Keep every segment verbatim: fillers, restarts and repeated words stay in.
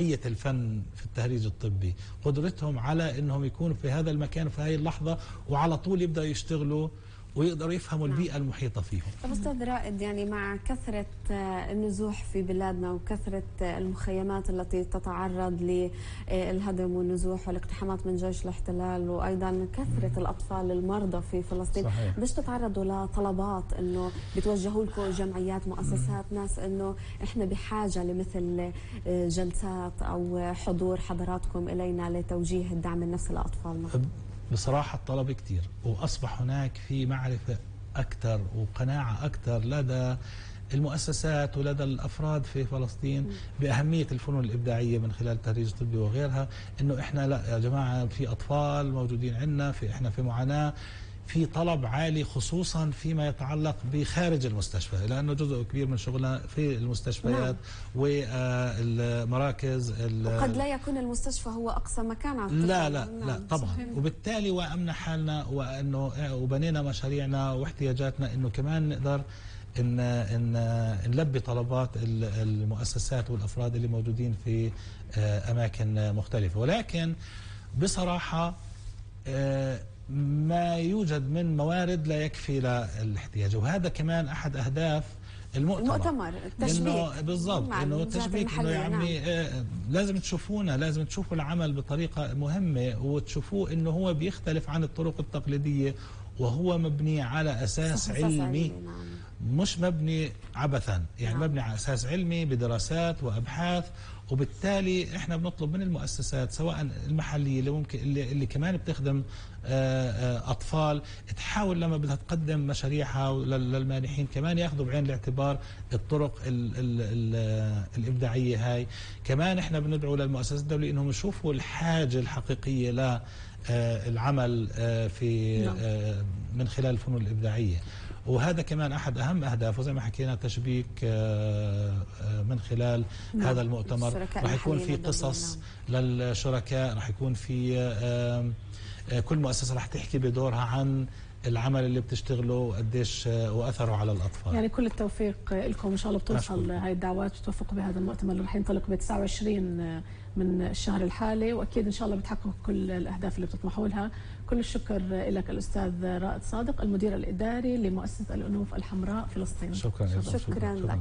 الفن في التهريج الطبي، قدرتهم على انهم يكونوا في هذا المكان في هذه اللحظه وعلى طول يبداوا يشتغلوا ويقدروا يفهموا نعم. البيئه المحيطه فيهم. طب استاذ رائد، يعني مع كثره النزوح في بلادنا وكثره المخيمات التي تتعرض للهدم والنزوح والاقتحامات من جيش الاحتلال، وايضا كثره الاطفال المرضى في فلسطين، ليش تتعرضوا لطلبات انه بتوجهوا لكم جمعيات مؤسسات ناس انه احنا بحاجه لمثل جلسات او حضور حضراتكم الينا لتوجيه الدعم النفسي للاطفالنا؟ بصراحة الطلب كتير، وأصبح هناك في معرفة أكثر وقناعة أكثر لدى المؤسسات ولدى الأفراد في فلسطين بأهمية الفنون الإبداعية من خلال التهريج الطبي وغيرها، إنه إحنا لا يا جماعة في أطفال موجودين عندنا، في إحنا في معاناة، في طلب عالي خصوصا فيما يتعلق بخارج المستشفى، لأنه جزء كبير من شغلنا في المستشفيات نعم. والمراكز. وقد لا يكون المستشفى هو أقصى مكان على الطفل. لا لا نعم. لا طبعا صحيح. وبالتالي وأمنا حالنا وأنه وبنينا مشاريعنا واحتياجاتنا إنه كمان نقدر إن إن نلبي طلبات المؤسسات والأفراد اللي موجودين في أماكن مختلفة، ولكن بصراحة ما يوجد من موارد لا يكفي للاحتياج، وهذا كمان أحد أهداف المؤتمر المؤتمر التشبيك بالضبط، انه التشبيك انه يا عمي آه لازم تشوفونا، لازم تشوفوا العمل بطريقه مهمه وتشوفوه انه هو بيختلف عن الطرق التقليديه، وهو مبني على اساس علمي نعم. مش مبني عبثا، يعني نعم. مبني على اساس علمي بدراسات وابحاث، وبالتالي احنا بنطلب من المؤسسات سواء المحليه اللي ممكن اللي, اللي كمان بتخدم اطفال تحاول لما بدها تقدم مشاريعها للمانحين كمان ياخذوا بعين الاعتبار الطرق ال ال ال الابداعيه هاي. كمان احنا بندعو للمؤسسات الدوليه انهم يشوفوا الحاجه الحقيقيه ل العمل في من خلال الفنون الابداعيه، وهذا كمان احد اهم اهدافه زي ما حكينا تشبيك من خلال نعم. هذا المؤتمر راح يكون في قصص نعم. للشركاء، راح يكون في كل مؤسسه راح تحكي بدورها عن العمل اللي بتشتغله وقديش واثره على الاطفال. يعني كل التوفيق لكم ان شاء الله، بتوصل هاي الدعوات وتوفقوا بهذا المؤتمر اللي راح ينطلق ب تسعة وعشرين من الشهر الحالي، واكيد ان شاء الله بتحققوا كل الاهداف اللي بتطمحوا لها. كل الشكر لك الاستاذ رائد صادق المدير الاداري لمؤسسه الانوف الحمراء فلسطين. شكرا شكرا, شكرا لك.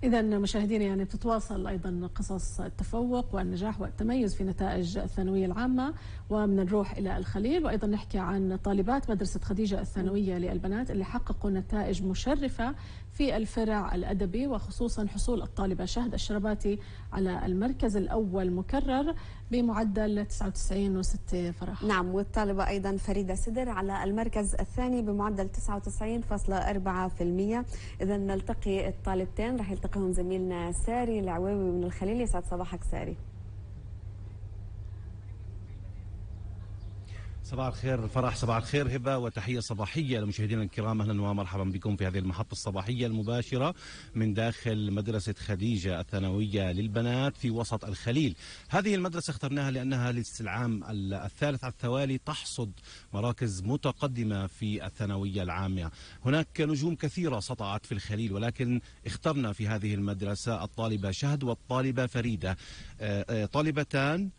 إذا مشاهدينا يعني بتتواصل أيضا قصص التفوق والنجاح والتميز في نتائج الثانوية العامة، ومن نروح إلى الخليل وأيضا نحكي عن طالبات مدرسة خديجة الثانوية للبنات اللي حققوا نتائج مشرفة في الفرع الأدبي، وخصوصا حصول الطالبة شهد الشرباتي على المركز الأول مكرر بمعدل تسعة وتسعين فاصلة ستة فرح. نعم، والطالبة أيضا فريدة سدر على المركز الثاني بمعدل تسعة وتسعين فاصلة أربعة بالمئة. إذا نلتقي الطالبتين، رح يلتقيهم زميلنا ساري العويوي من الخليل. يسعد صباحك ساري. صباح الخير فرح، صباح الخير هبة، وتحية صباحية لمشاهدينا الكرام. أهلا ومرحبا بكم في هذه المحطة الصباحية المباشرة من داخل مدرسة خديجة الثانوية للبنات في وسط الخليل. هذه المدرسة اخترناها لأنها للعام الثالث على التوالي تحصد مراكز متقدمة في الثانوية العامة. هناك نجوم كثيرة سطعت في الخليل، ولكن اخترنا في هذه المدرسة الطالبة شهد والطالبة فريدة، طالبتان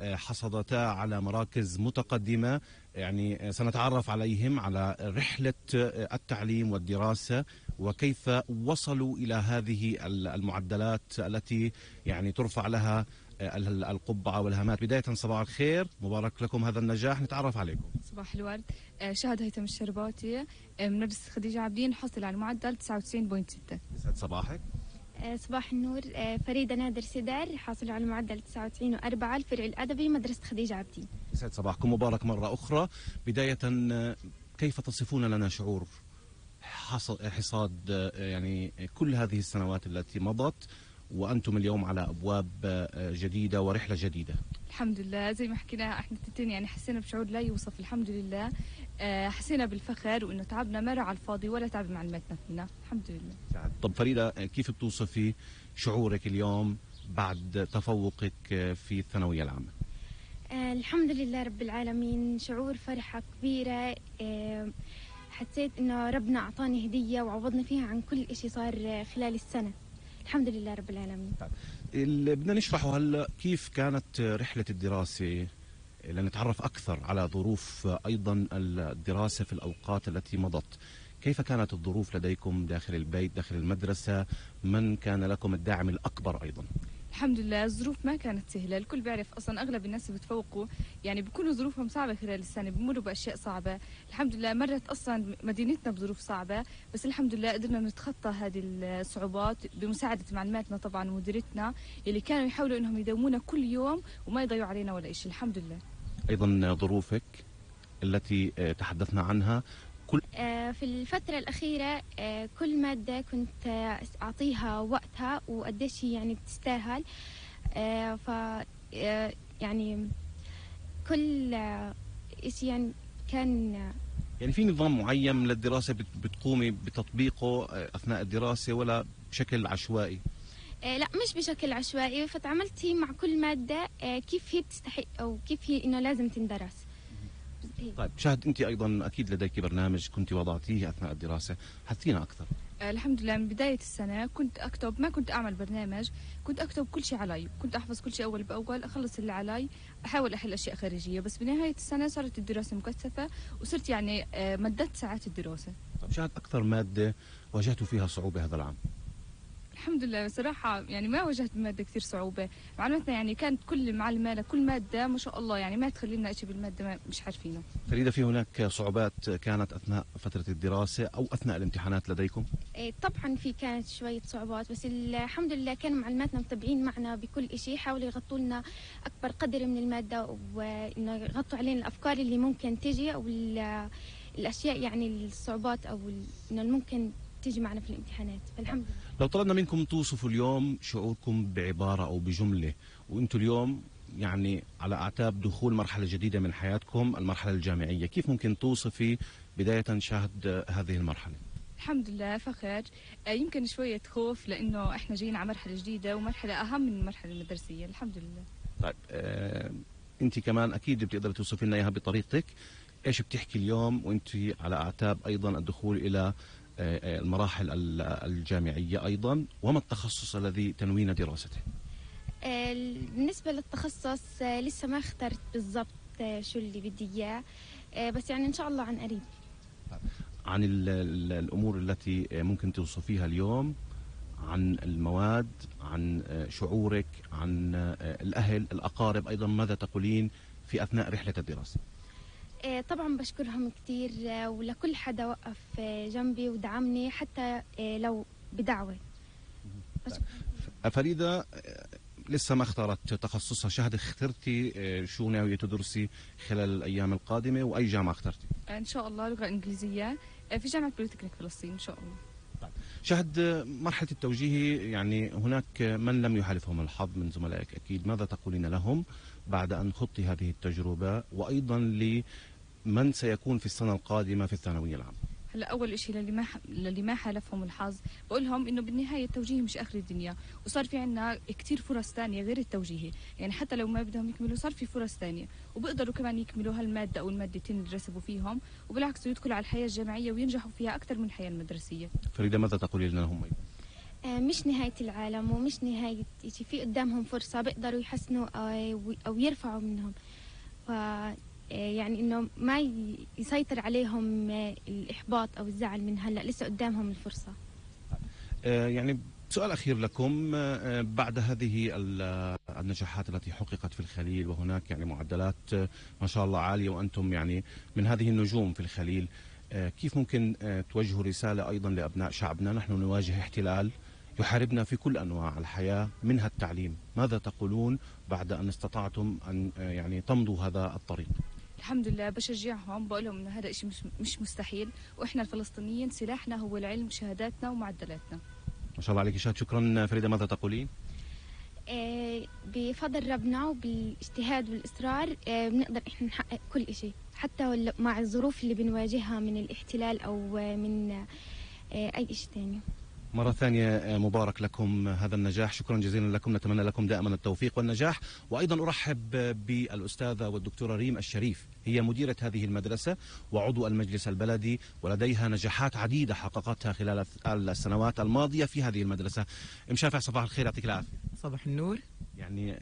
حصدتا على مراكز متقدمة. يعني سنتعرف عليهم على رحلة التعليم والدراسة وكيف وصلوا إلى هذه المعدلات التي يعني ترفع لها القبعة والهامات. بداية صباح الخير، مبارك لكم هذا النجاح، نتعرف عليكم. صباح الورد. شهد هيثم الشرباتي من مدرسة خديجة عابدين، حصل على المعدل تسعة وتسعين فاصلة ستة. يسعد صباحك. صباح النور. فريدة نادر سدر حاصل على معدل تسعة وتسعين فاصلة أربعة، الفرع الأدبي مدرسة خديجة عابدين. يسعد صباحكم، مبارك مرة أخرى. بداية كيف تصفون لنا شعور حصاد يعني كل هذه السنوات التي مضت وأنتم اليوم على أبواب جديدة ورحلة جديدة؟ الحمد لله، زي ما حكينا احنا التنتين يعني حسينا بشعور لا يوصف. الحمد لله حسينا بالفخر وانه تعبنا ما راح على الفاضي ولا تعب معلمتنا فينا. الحمد لله. طب فريدة، كيف بتوصفي شعورك اليوم بعد تفوقك في الثانوية العامة؟ آه الحمد لله رب العالمين، شعور فرحة كبيرة. آه حسيت انه ربنا اعطاني هدية وعوضني فيها عن كل اشي صار خلال السنة. الحمد لله رب العالمين. اللي بدنا نشرحه هلا كيف كانت رحلة الدراسة، لنتعرف أكثر على ظروف أيضا الدراسة في الأوقات التي مضت. كيف كانت الظروف لديكم داخل البيت داخل المدرسة؟ من كان لكم الداعم الأكبر أيضا؟ الحمد لله الظروف ما كانت سهلة، الكل بيعرف أصلا أغلب الناس اللي بتفوقوا يعني بيكونوا ظروفهم صعبة خلال السنة، بيمروا بأشياء صعبة. الحمد لله مرت أصلا مدينتنا بظروف صعبة، بس الحمد لله قدرنا نتخطى هذه الصعوبات بمساعدة معلماتنا طبعا ومديرتنا اللي كانوا يحاولوا إنهم يداومونا كل يوم وما يضيعوا علينا ولا شيء. الحمد لله. أيضا ظروفك التي تحدثنا عنها كل في الفترة الأخيرة كل مادة كنت أعطيها وقتها وقديش يعني بتستاهل، ف يعني كل شيء يعني كان يعني في نظام معين من الدراسة بتقومي بتطبيقه أثناء الدراسة ولا بشكل عشوائي؟ لا مش بشكل عشوائي، فتعاملت مع كل مادة كيف هي بتستحق أو كيف هي إنه لازم تندرس. طيب شهد، أنت أيضا أكيد لديك برنامج كنت وضعتيه أثناء الدراسة، حدثينا أكثر. الحمد لله من بداية السنة كنت أكتب، ما كنت أعمل برنامج، كنت أكتب كل شيء علي، كنت أحفظ كل شيء أول بأول، أخلص اللي علي، أحاول أحل أشياء خارجية. بس بنهاية السنة صارت الدراسة مكثفة وصرت يعني مددت ساعات الدراسة. طيب شهد، أكثر مادة واجهتوا فيها صعوبة هذا العام؟ الحمد لله بصراحة يعني ما واجهت مادة كثير صعوبة، معلوماتنا يعني كانت كل معلمة لكل مادة ما شاء الله، يعني ما تخلي لنا شيء بالمادة ما مش عارفينه. فريدة، في هناك صعوبات كانت أثناء فترة الدراسة أو أثناء الامتحانات لديكم؟ إيه طبعا في كانت شوية صعوبات، بس الحمد لله كانوا معلماتنا متابعين معنا بكل شيء، حاولوا يغطوا لنا أكبر قدر من المادة وإنه يغطوا علينا الأفكار اللي ممكن تجي أو الأشياء يعني الصعوبات أو إنه ممكن تيجي معنا في الامتحانات. فالحمد لله. لو طلبنا منكم توصفوا اليوم شعوركم بعبارة أو بجملة، وأنتم اليوم يعني على أعتاب دخول مرحلة جديدة من حياتكم، المرحلة الجامعية، كيف ممكن توصفي بداية شهد هذه المرحلة؟ الحمد لله فخر، يمكن شوية خوف لأنه إحنا جايين على مرحلة جديدة ومرحلة أهم من المرحلة المدرسية. الحمد لله. طيب آه، أنت كمان أكيد بتقدري توصفي لنا إياها بطريقتك. إيش بتحكي اليوم وأنت على أعتاب أيضا الدخول إلى المراحل الجامعية أيضا، وما التخصص الذي تنوين دراسته؟ بالنسبة للتخصص لسه ما اخترت بالضبط شو اللي بدي إياه، بس يعني إن شاء الله عن قريب. عن الأمور التي ممكن توصفيها اليوم، عن المواد، عن شعورك، عن الأهل الأقارب أيضا، ماذا تقولين في أثناء رحلة الدراسة؟ طبعا بشكرهم كثير ولكل حدا وقف جنبي ودعمني حتى لو بدعوة. فريدة لسه ما اختارت تخصصها، شهد اخترتي شو ناوية تدرسي خلال الأيام القادمة وأي جامعة اخترتي؟ إن شاء الله لغة إنجليزية في جامعة بوليتكنيك فلسطين إن شاء الله. طيب شهد، مرحلة التوجيه يعني هناك من لم يحالفهم الحظ من زملائك أكيد، ماذا تقولين لهم بعد أن خضتي هذه التجربة، وأيضا لمن سيكون في السنة القادمة في الثانوية العامة؟ هلا اول شيء للي ما للي ما حالفهم الحظ بقول لهم انه بالنهايه التوجيهي مش اخر الدنيا، وصار في عندنا كثير فرص ثانيه غير التوجيهي، يعني حتى لو ما بدهم يكملوا صار في فرص ثانيه وبيقدروا كمان يكملوا هالماده او المادتين اللي رسبوا فيهم، وبالعكس يدخلوا على الحياه الجامعيه وينجحوا فيها اكثر من الحياه المدرسيه. فريده، ماذا تقولي لنا هم ايضا؟ مش نهايه العالم ومش نهايه شيء، في قدامهم فرصه بيقدروا يحسنوا او يرفعوا منهم، ف يعني انه ما يسيطر عليهم الاحباط او الزعل من هلا، لسه قدامهم الفرصه. يعني سؤال اخير لكم، بعد هذه النجاحات التي حققت في الخليل، وهناك يعني معدلات ما شاء الله عاليه وانتم يعني من هذه النجوم في الخليل، كيف ممكن توجهوا رساله ايضا لابناء شعبنا؟ نحن نواجه احتلال يحاربنا في كل انواع الحياه منها التعليم، ماذا تقولون بعد ان استطعتم ان يعني تمضوا هذا الطريق؟ الحمد لله بشجعهم، بقول لهم انه هذا الشيء مش مش مستحيل، واحنا الفلسطينيين سلاحنا هو العلم، شهاداتنا ومعدلاتنا. ما شاء الله عليك شهد. شكرا فريده، ماذا تقولين؟ آه بفضل ربنا وبالاجتهاد والاصرار آه بنقدر احنا نحقق كل شيء، حتى مع الظروف اللي بنواجهها من الاحتلال او من آه اي شيء ثاني. مرة ثانية مبارك لكم هذا النجاح، شكرا جزيلا لكم، نتمنى لكم دائما التوفيق والنجاح. وأيضا أرحب بالأستاذة والدكتورة ريم الشريف، هي مديرة هذه المدرسة وعضو المجلس البلدي، ولديها نجاحات عديدة حققتها خلال السنوات الماضية في هذه المدرسة. ام شافع صباح الخير، يعطيك العافية. صباح النور. يعني